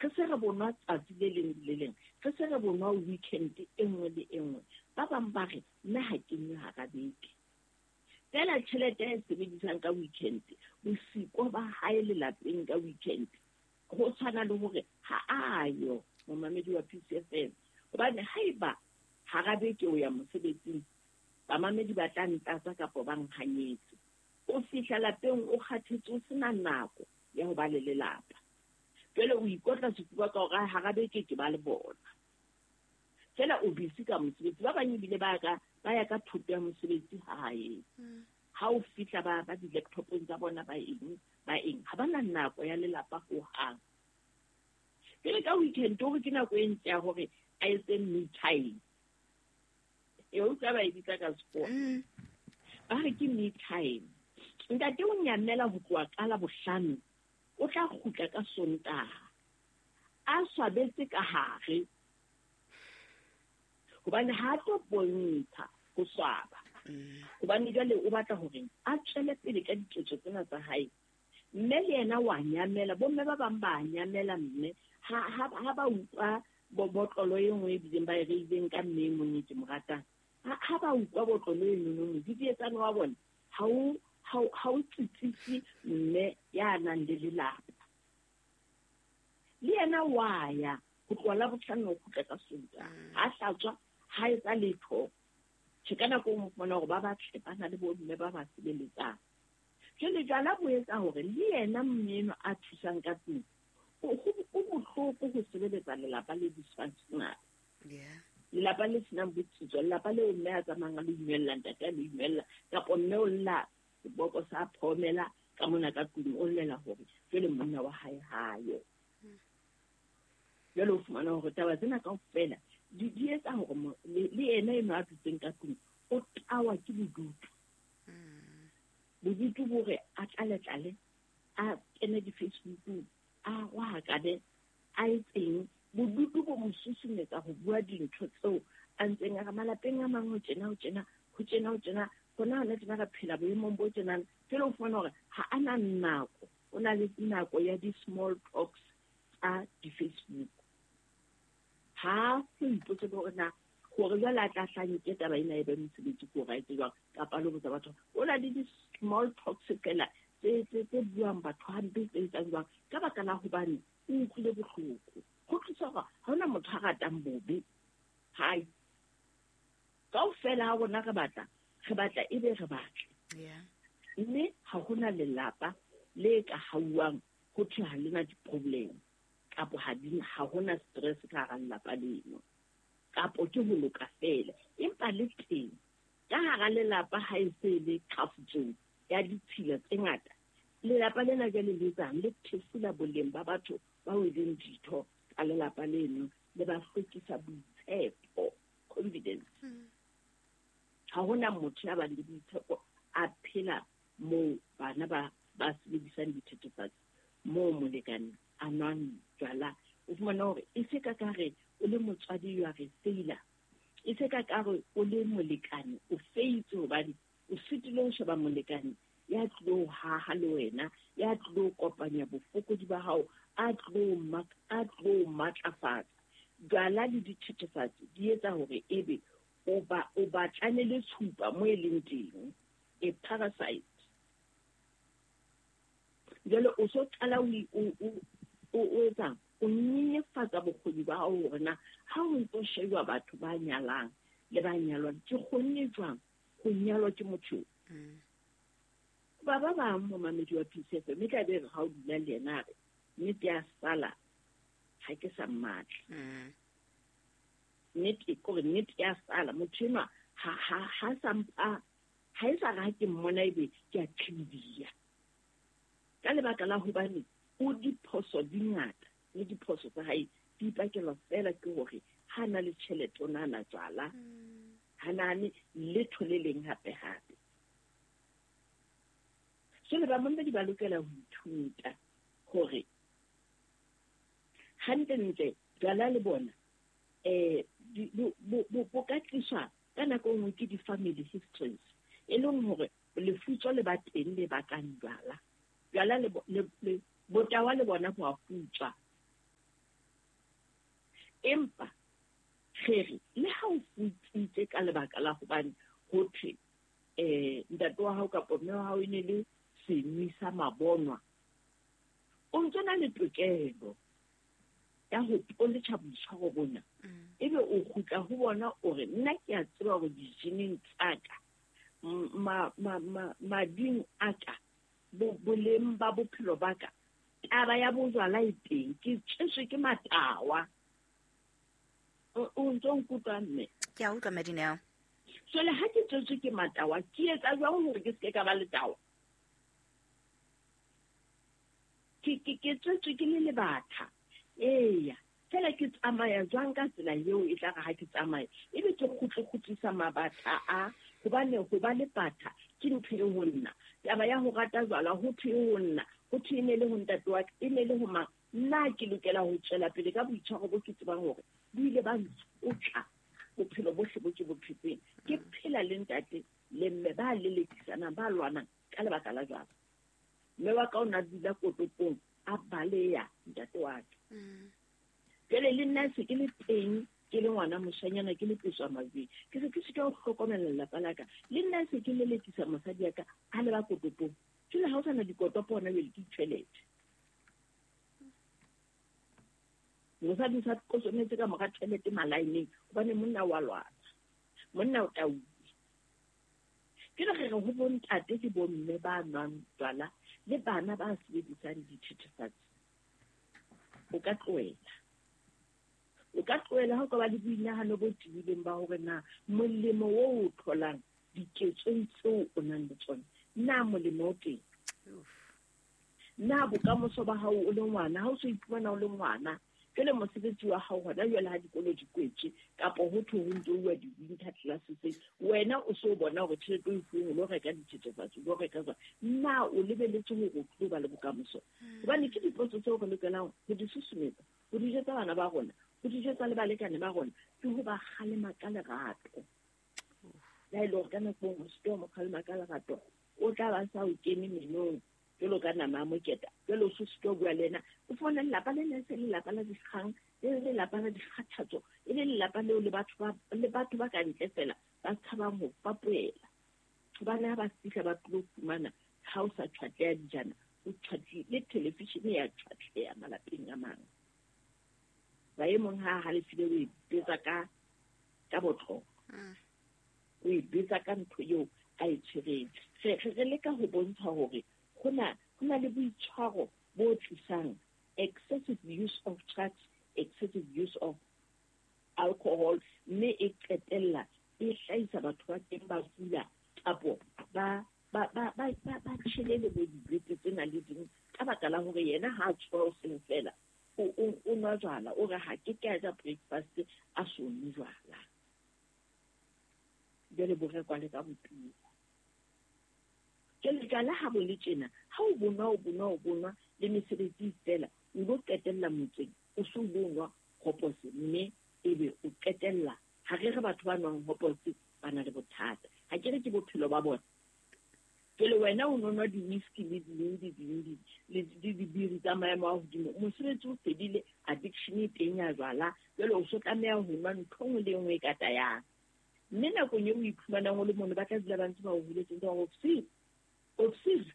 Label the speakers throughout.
Speaker 1: Re se re bonwa tsatsi le leng le leng, re se re bonwa weekend e nngwe le e nngwe. Ba bang ba re, nna ha ke nwe hara beke. Feela tjhelete e sebedisang ka weekend, bosiko ba hae lelapeng ka weekend, ho tshwana le hore ha a yo momamedi wa PCFM. Hobane haeba hara beke o ya mosebetsing, bamamedi ba tla ntlatsa kapa ba nhanyetse. O fihla lapeng o kgathetse, o sena nako ya ho ba le lelapa. Jwale o ikotla sefuba ka hore hara beke ke ba le bona. Feela o busy ka mosebetsi. Ba bang ebile ba ya ka thoto ya mosebetsi hae. Ha o fihla ba di-laptopong tsa bona ba eng, ha ba na nako ya lelapa hohang. Pele ka weekend hore ke nako e ntle ya hore a etse me time. E utlwa ba e bitsa ka sekgowa. Ba re ke me time. Ntate o nyamela ho tloha ka Labohlano, o tla kgutla ka Sontaha. A swabetse ka hare. Hobane ha a tlo bontsha ho swaba. Hobane jwale o batla hore a tswele pele ka diketso tsena tsa hae. Mme le yena wa nyamela, bomme ba bang ba nyamela mme ha ba utlwa botlolo e nngwe e bileng ba e reileng ka mme e mong e ke mo ratang. Ha ba utlwa botlolo e nonono, didietsane wa bona ha o tsitsise mme ya nang le lelapa. Le yena wa ya ho tloha Labohlano ho kgutla ka Sontaha. Ha hlatswa, ha etsa letho. Tjhe, ka nako e nngwe o fumana hore ba batle ba na le bomme ba ba sebeletsang. Jwale jwala bo etsa hore le yena mme enwa a thusang ka tlung, o bohloko ho sebeletsa lelapa le dysfunctional. Lelapa le senang botsitso, lelapa leo mme a tsamayang a lo inwella, ntate a lo inwella, kapa mme o lla seboko sa phomela ka mona ka tlung, o llela hore jwale monna wa hae ha yo. Jwale o fumana hore taba tsena kaofela di etsa hore le yena enwa a dutseng ka tlung o tawa ke bodutu. Bodutu bore a tlale-tlale, a kene di-Facebookong, a rohakane, a etseng. Bodutu bo mo susumetsa ho bua dintho tseo a ntseng a re malapeng a mang ho tjena, ho tjena, ho tjena, ho tjena, hona hona tjena re phela boemong bo tjenana. Jwale o fumana hore ha a na nako, o na le nako ya di-small talks tsa di-Facebook. Ha ho ipotse hore na hore jwale a tla hlanke taba ena e be mosebetsi ko right jwang, kapa le botsa batho. O na le di-small talks fela tse buang batho hampe, tse etsang jwang, ka baka la hobane o utlwile bohloko. Ho tlisa hore ha hona motho a ratang bobe. Hai. Kaofela ha rona re batla ebe re batle. Mme ha hona lelapa le ka hauwang ho thwe ha lena di-problem, kapo ha hona stress ka hara lelapa leno, kapo ke ho loka fela. Empa le teng ka hara lelapa ha e se le qhafutsong ya ditshila tse ngata, lelapa lena jwale le etsang, le thefula boleng ba batho bao e leng ditho tsa lelapa leno, le ba hlwekisa boitshepo, confidence. Ha hona motho ya bang le boitshepo a phela moo bana ba sebedisang dithethefatsi, moo molekane a nwang jwala. O fumana hore e se ka kare o le motswadi, you are a failure. E se ka kare o le molekane, o faitse hobane o sitile ho sheba molekane ya tlilo haha le wena, ya tlilo kopanya bofokodi ba hao, a tlilo matlafatsa. Jwala le dithethefatsi di etsa hore ebe o batlane le tshupa mo e leng teng, a parasite. Jwale o so qala o etsang, o nyenyefatsa bokgoni ba hao hore na ha o ntso shejwa batho ba nyalang le ba nyalwang, ke kgonne jwang ho nyalwa ke motho? Ba ba bang momamedi wa PCF, mme tla be re ha o dula le yena a re nnete ya sala ha ke sa mmatla. Nnete kore nnete ya sala motho enwa ha sa mpha, ha e sa re ha ke mmona ebe ke a qhibidiya. Ka lebaka la hobane o diphoso di ngata, le diphoso tsa hae di ipakelwa fela ke hore ha na le tjhelete o na jwala, ha nahane letho le leng hape hape. Jwale bamamedi ba lokela ho ithuta hore hantle-ntle jwala le bona bo ka tliswa ka nako e nngwe ke di-family histories, e leng hore lefutso le ba teng le bakang jwala. Jwala le botawa le bona bo a futswa. Empa re re le ha o futsitse ka lebaka la hobane ho thwe ntate wa hao kapa mme wa hao e ne le senwi sa mabonwa, o ntso na le tokelo ya ho poletjha boitshwaro bona. Ebe o kgutla ho bona o re nna ke a tseba hore dijeneng tsa ka, mading a ka, boleng ba bophelo ba ka, taba ya bojwala e teng, ke tswetswe ke matawa. O ntso nkutlwa mme?
Speaker 2: Ke a utlwa, Madineo.
Speaker 1: Jwale ha ke tswetswe ke matawa, ke etsa jwang hore ke seke ka ba letawa? Ke tswetswe ke le lebatha. Eya, fela ke tsamaya jwang ka tsela eo e tla re ha ke tsamaya ebe ke kgutle-kgutlisa mabatha a, hobane ho ba le batha ke ntho e ho nna. Taba ya ho rata jwala ho thwe e ho nna, ho thwe e ne le ho ntate wa ka, e ne le ho mang. Nna ke lokela ho tswela pele ka boitshwaro bo ke tsebang hore bo ile ba ntshotla bophelo bohle bo ke bo phetseng. Ke phela le ntate le mme ba lelekisanang, ba lwanang ka lebaka la jwala. Mme wa ka o na dula kotopong a baleya ntate wa ka. Jwale le nna se ke le teng, ke le ngwana moshanyana, ke le peswa majweng, ke se ke sitwa ho hlokomela lelapa la ka. Le nna se ke lelekisa mosadi ya ka a leba kotopong. Jwale ha o sana dikotopo hona jwale ke ditjhelete. Mosadi o sa kosometse ka mora tjhelete malaeneng hobane monna wa lwana, monna o tauwe. Ke re re ho bontate ke bomme ba nwang jwala le bana ba sebedisang dithethefatsi. O ka tlohela. O ka tlohela ha o ka ba le boinahano bo tibileng ba hore na molemo o o tholang diketsong tseo o nang le tsona, na molemo o teng? Na bokamoso ba hao o le ngwana, ha o so iphumana o le ngwana, jwale mosebetsi wa hao hona jwale ha dikolo di kwetswe kapa ho thwe ho ntso uwa di-winter classes, wena o so bona hore tjhelete o e fuweng o lo reka dithethefatsi, o lo reka jwang? Na o lebeletse hore o tlo ba le bokamoso? Hobane ke dipotso tseo re lokelang ho di susumetsa, ho di jwetsa bana ba rona, ho di jwetsa le balekane ba rona, ke ho ba kgalema ka lerato. Le ha e le hore ka nako e nngwe o se ke wa mo kgalema ka lerato, o tla ba sa o kene menong jwalo ka nama ya moketa. Jwale o se sitwa ho bua le yena. O fumana lelapa lena e se lelapa la dikgang, e le lelapa la dikgathatso, e le lelapa leo le batho ba ka ntle fela ba tshabang ho fapohela. Hobane ha ba fihla ba tlo fumana ha o sa tjhwatleha dijana, o tjhwatlehile, le televishene ya tjhwatleha malapeng a mang. Ba e mong ha halefile o e betsa ka botlolo. O e betsa ka ntho eo a e tshwereng. Re leka ho bontsha hore ho na le boitshwaro bo tlisang excessive use of drugs, excessive use of alcohol, mme e qetella e hlahisa batho ba teng ba kula kapo ba tjhele le bo dibete tsena le ding ka baka la hore yena ha a tsoha hoseng fela o nwa jwala, o re ha ke ka ja breakfast a so nwe jwala. Jwale bo rekwa le ka botumo. Jwale jwala ha bo le tjena, ha o bonwa, o bonwa, o bonwa le mesebetsi fela, o lo qetella motseng, o so lo nwa hopose, mme ebe o qetella. Ha re re batho ba nwang hopose ba na le bothata. Ha ke re ke bophelo ba bona. Jwale wena o nwa di-whisky le ding le dibiri tsa maemo a hodimo, mosebetsi o fedile, addiction e teng ya jwala, jwale o so tlameha ho nwa ntho e nngwe le e nngwe e ka tayang. Mme nakong eo o iphumanang o le mono, ba tla dula ba ntse ba o holetse, ntse ba re obsessive,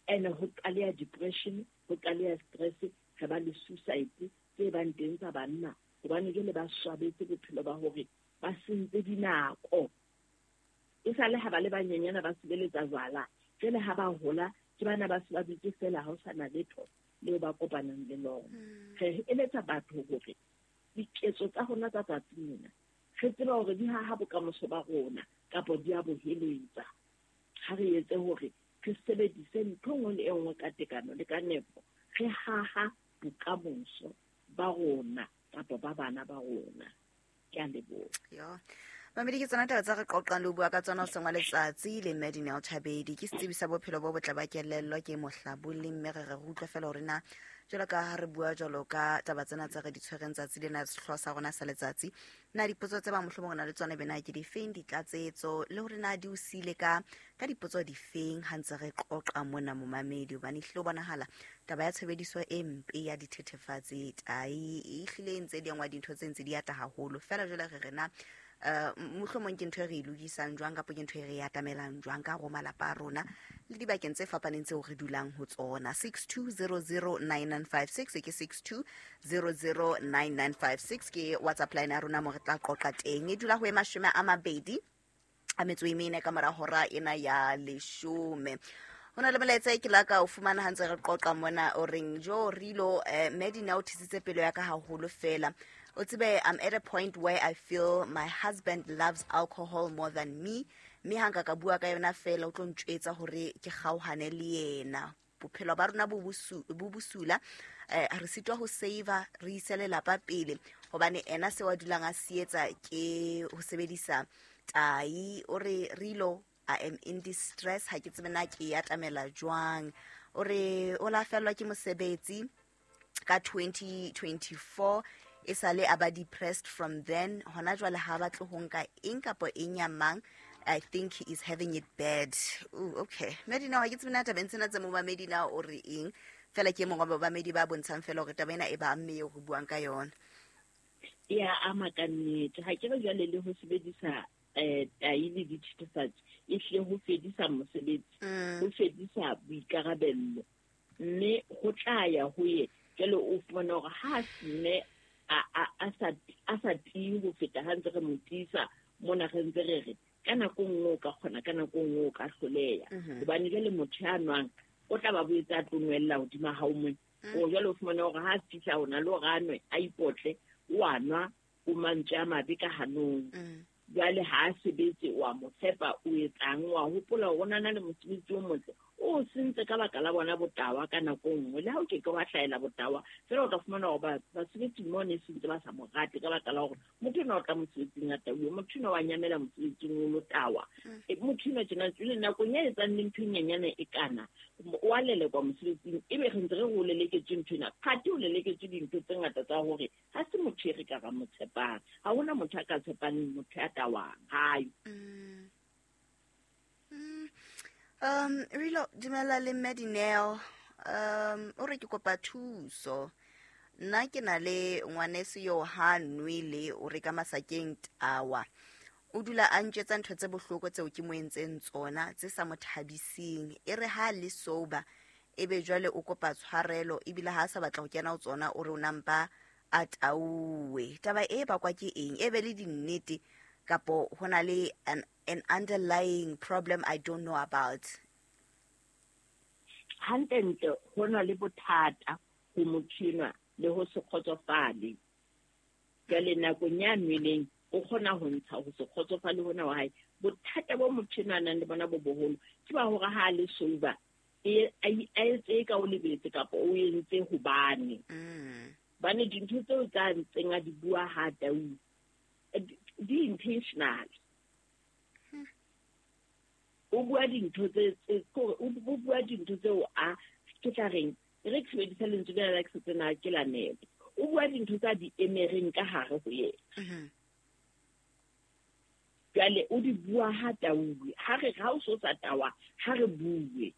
Speaker 1: and ho qaleha depression, ho qaleha stress, re ba le suicide tse bang teng tsa banna, hobane jwale ba swabetse bophelo ba hore ba sentse dinako. E sale ha ba le banyenyana ba sebeletsa jwala, jwale ha ba hola ke bana ba se ba dutse fela, ha ho sana letho leo ba kopanang le lona. Re eletsa batho hore diketso tsa rona tsa tsatsi lena re tseba hore di haha bokamoso ba rona kapa di a bo heletsa. Ha re etse hore re sebedise ntho nngwe le e nngwe ka tekano le ka nepo, re haha bokamoso ba rona kapa ba bana ba rona. Ke a leboha.
Speaker 2: Yo. Mamedi, ke tsona taba tsa re qoqang le ho bua ka tsona hoseng wa letsatsi le mme Dineo Thabedi. Ke setsebi sa bophelo bo botle ba kelello, ke mohlabolli, mme re re utlwe fela hore na jwalo ka ha re bua jwalo ka taba tsena tse re di tshwereng tsatsi lena, sehlooho sa rona sa letsatsi, na dipotso tse ba mohlomong re na le tsona bena ke difeng, ditlatsetso, le hore na di o siile ka dipotso difeng ha ntse re qoqa mona momamedi, hobane ehlile ho bonahala taba ya tshebediso e mpe ya dithethefatsi tai e hlile e ntse di engwa, dintho tse ntse di ata haholo fela. Jwale re re na mohlomong ke ntho e re e lokisang jwang, kapa ke ntho e re e atamelang jwang ka hare ho malapa a rona le dibakeng tse fapaneng tseo re dulang ho tsona. 62009956 ke 62009956 ke WhatsApp line ya rona mo re tla qoqa teng. E dula ho e 24 ka mora hora ena ya 10. Ho na le molaetsa e ke la ka o fumana ha ntse re qoqa mona, o reng jo rilo Medina o thisitse pelo ya ka haholo fela. O tsebe, I'm at a point where I feel my husband loves alcohol more than me, mme ha nka ka bua ka yona fela o tlo ntjwetsa hore ke kgaohane le yena. Bophelo ba rona bo bosula, re sitwa ho save, re ise lelapa pele, hobane ena se wa dulang a se etsa ke ho sebedisa tai. O re rilo, I am in distress, ha ke tsebe na ke e atamela jwang. O re o la fellwa ke mosebetsi ka 2024, e sale a ba depressed from then. Hona jwale ha batle ho nka eng kapa eng ya mang. I think he is having it bad. Ooh, okay, Medina, ha ke tsebe na tabeng tsena tse momamedi na o re eng fela. Ke e mongwe wa bamamedi ba bontshang fela hore taba ena e ba amme eo re buang ka yona.
Speaker 1: E a ama ka nnete. Ha ke re jwale le ho sebedisa tai le dithethefatsi e hlile ho fedisa mosebetsi, ho fedisa boikarabello, mme ho tla ya ho ye jwale o fumana hore ha mme a sa tiye ho feta ha ntse re mo tiisa mona, re ntse re re ka nako nngwe o ka kgona, ka nako nngwe o ka hloleha, hobane jwale motho ya nwang o tla ba boetse a tlo nwella hodima hao mone. O jwale o fumana hore ha a fihla o na le hore a nwe, a ipotle, o a nwa, o mantswe a mabe ka hanong. Jwale ha a sebetse, wa mo fepa, o etsang, wa hopola hore o na le mosebetsi o motle, o sentse ka baka la bona botawa. Ka nako nngwe le ha o ke ke wa hlahela botawa fela, o tla fumana hore basebetsi mo ne sentse ba sa mo rate ka baka la hore motho enwa o tla mosebetsing a tauwe, motho enwa wa nyamela mosebetsing o lo tawa. Motho enwa tjena jwale nakong ya etsang le ntho e nyenyane e kana o a lelekwa mosebetsing, ebe re ntse re re o leleketswe ntho ena, phate o leleketswe dintho tse ngata tsa hore ha se motho e re ka ra mo tshepang. Ha hona motho a ka tshepang motho ya tawang hayo.
Speaker 2: Rilo, dumela le Medineo. O re ke kopa thuso. Nna ke na le ngwaneso yo ha nwele, o re ka masakeng tawa. O dula a ntjwetsa ntho tse bohloko tseo ke mo entseng tsona tse sa mo thabiseng. E re ha le sober, ebe jwale o kopa tshwarelo, ebile ha a sa batla ho kena ho tsona, o re o nampa a tauwe. Taba e bakwa ke eng? E be le dinnete kapo ho na le an underlying problem I don't know about?
Speaker 1: Hantlentle ho na le bothata ho motho enwa le ho se kgotsofale. Jwale nakong ya nweleng o kgona ho ntsha ho se kgotsofale hona wa hae. Bothata bo motho enwa a nang le bona bo boholo ke ba hore ha a le sober, a etse ka o lebetse kapa o entse hobane. Bane dintho tseo tsa ntseng a di bua ha tau di intentional. O bua dintho tse kore o bua dintho tseo a ke tla reng re ke sebedisa lentswe lena la ke setsena ke la nepo. O bua dintho tsa di emereng ka hare ho yena. Jwale o di bua ha tauwe, ha re ha o so sa tawa, ha re bue.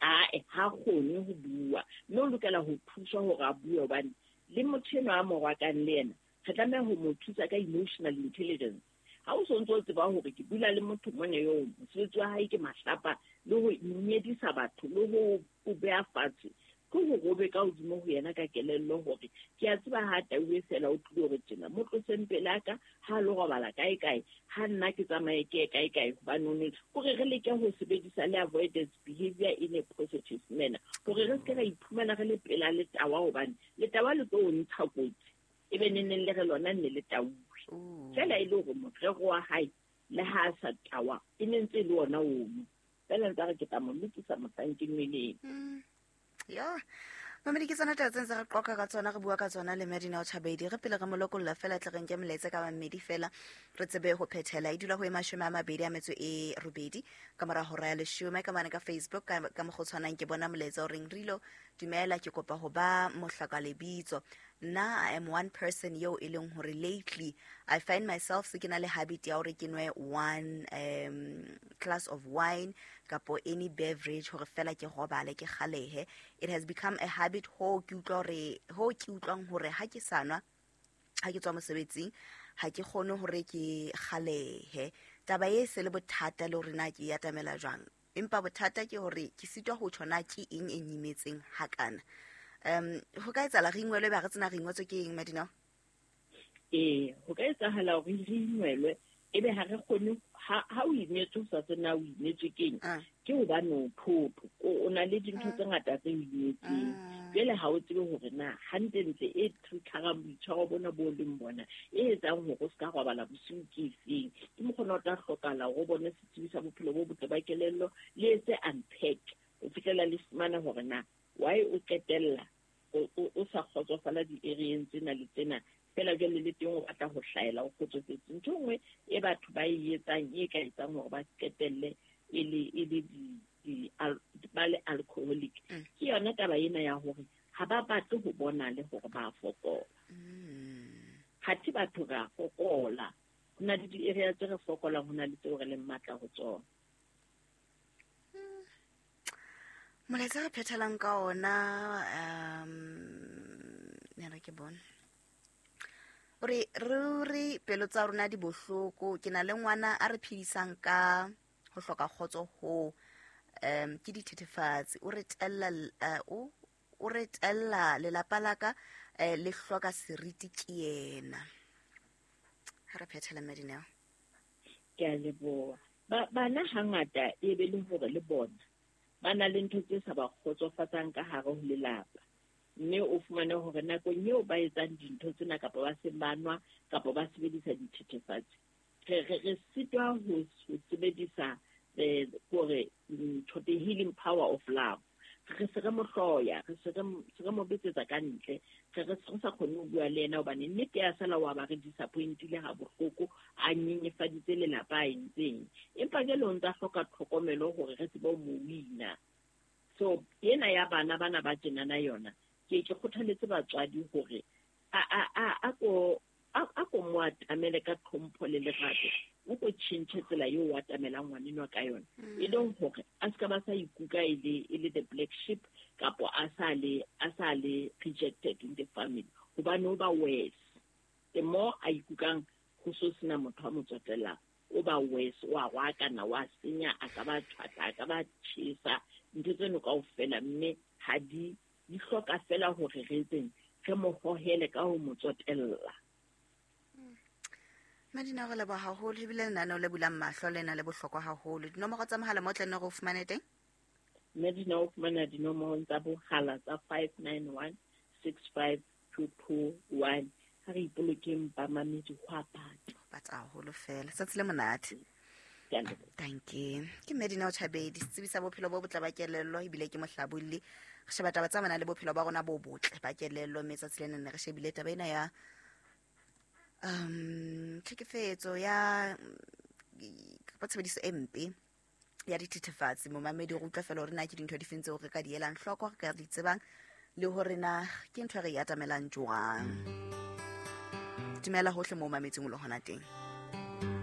Speaker 1: Ae, ha kgone ho bua. Mme o lokela ho thuswa hore a bue, hobane le motho enwa a mo rwakang le yena, re tlameha ho mo thusa ka emotional intelligence. Ha o so ntso o tseba hore ke dula le motho mona eo, mosebetsi wa hae ke mahlapa le ho nyedisa batho le ho o beha fatshe, ke hore o be ka hodimo ho yena ka kelello hore ke a tseba ha tauwe fela o tlile hore tjena, mo tloseng pela ka, ha lo robala kae kae, ha nna ke tsamaye ke ye kae kae, hobane o ne hore re leke ho sebedisa le avoidance behavior in a positive manner, hore re se ke ra iphumana re le pela letawa, hobane letawa le tlo o ntsha kotsi, ebe neneng le re lona nne le tauwe. Fela e le hore morero wa hae le ha a sa tawa, e ne ntse e le ona ono. Fela ntse a re ke tla mo lokisa mohlang ke nweleng.
Speaker 2: Ya. Mamedi, ke tsona taba tse ntse re qoqa ka tsona, re bua ka tsona le Madina Chabedi. Re pele re mo lokolla fela, tle re nke molaetsa ka mamedi fela, re tsebe ho phethela. E dula ho e 28 ka mora hora ya 10. Ka mane ka Facebook ka mokgwa o tshwanang ke bona molaetsa o reng, Rilo dumela, ke kopa ho ba mohlaka lebitso. Nna I am one person yo e leng hore lately I find myself se ke na le habit ya hore ke nwe one glass of wine kapo any beverage hore fela ke robale, ke kgalehe. It has become a habit ho ke utlwa hore, ho ke utlwang hore ha ke sa nwa, ha ke tswa mosebetsing, ha ke kgone hore ke kgalehe. Taba e se le bothata le hore na ke e atamela jwang, empa bothata ke hore ke sitwa ho tjho na ke eng e nyimetseng hakana. Ho ka etsahala re ingwelwe, ba re tsena re ingwetswe ke eng, Madina?
Speaker 1: Ee, ho ka etsahala hore re ingwelwe, ebe ha re kgone, ha o imetswe o sa tsebe na o imetswe ke eng, ke hobane o thoto, o na le dintho tse ngata tse o imetseng. Jwale ha o tsebe hore na hantlentle e triggerang boitshwaro bona bo leng bona, e etsang hore o ska robala bosiu ke efeng. Ke mokgona o tla hlokahala hore o bone setsebi sa bophelo bo botle ba kelello, le etse unpack ho fihlela le fumana hore na why o qetella o sa kgotsofala di-area-eng tsena le tsena. Fela jwale le teng o batla ho hlaela, o kgotsofetse. Ntho e nngwe e batho ba e etsang, e ka etsang hore ba qetelle e le, e le di, di, al-, ba le alcoholic, ke yona taba ena ya hore ha ba batle ho bona le hore ba fokola. Hathe batho re a fokola, ho na le di-area tse re fokolang, ho na le tseo re leng matla ho tsona.
Speaker 2: Molaetsa re phethelang ka ona, ne re ke bone. O re, ruri pelo tsa rona di bohloko, ke na le ngwana a re phedisang ka ho hloka kgotso ho, ke dithethefatsi. O re tella, o re tella lelapa la ka, le hloka seriti ke yena. Ha re phethela, Madineo.
Speaker 1: Ke a leboha. Bana hangata e be le hore le bona ba na le ntho tse sa ba kgotsofatsang ka hare ho lelapa. Mme o fumane hore nakong eo ba etsang dintho tsena kapa ba seng ba nwa kapa ba sebedisa dithethefatsi, re sitwa ho sebedisa, hore ntho, the healing power of love. Re se re mo hloya, re se re se re mo betsetsa ka ntle, re se re sa kgone ho bua le yena hobane nnete ya sala wa ba re disappointile ha bohloko, a nyenyefaditse lelapa a entseng. Empa jwale o ntsa hloka tlhokomelo hore re tsebe ho mo wina. So ena ya bana bana ba tjenana yona, ke kgothaletse batswadi hore a ko mo atamele ka tlhompho le lerato, o ko tjhentjhe tsela eo o atamelang ngwanenwa ka yona. E leng hore a ska ba sa ikuka e le the black sheep, kapo a sa le rejected in the family, hobane o ba worse. The more a ikukang ho so sena motho a mo tsotellang, o ba worse, o a rwakana, o a senya, a ka ba tjhwatla, a ka ba tjhesa, ntho tseno kaofela, mme ha di hloka fela hore re etseng, re mo hohele ka ho mo tsotella.
Speaker 2: Madina, re leboha haholo, ebile lenaneo le bulang mahlo le na le bohlokwa haholo. Dinomoro tsa mohala mo tla nne re o fumane teng?
Speaker 1: Madina, o fumana dinomoro tsa bohala tsa 591 65221. Ha re ipolokeng bamamedi, ho a bata.
Speaker 2: Ho bata haholo fela. Tsatsi le monate.
Speaker 1: Ke a leboha.
Speaker 2: Thank you. Ke Madina Chabedi, setsebi sa bophelo bo botle ba kelello, ebile ke mohlabolli. Re sheba taba tsa mana le bophelo ba rona bo botle ba kelello, mme tsatsi lena ne re shebile taba ena ya tlhekefetso ya, kapa tshebediso e mpe ya dithethefatsi. Momamedi, re utlwa fela hore na ke dintho difeng tseo re ka di elang hloko, re ka di tsebang, le hore na ke ntho e re e atamelang jwang. Dumela hohle moo mametseng o le hona teng.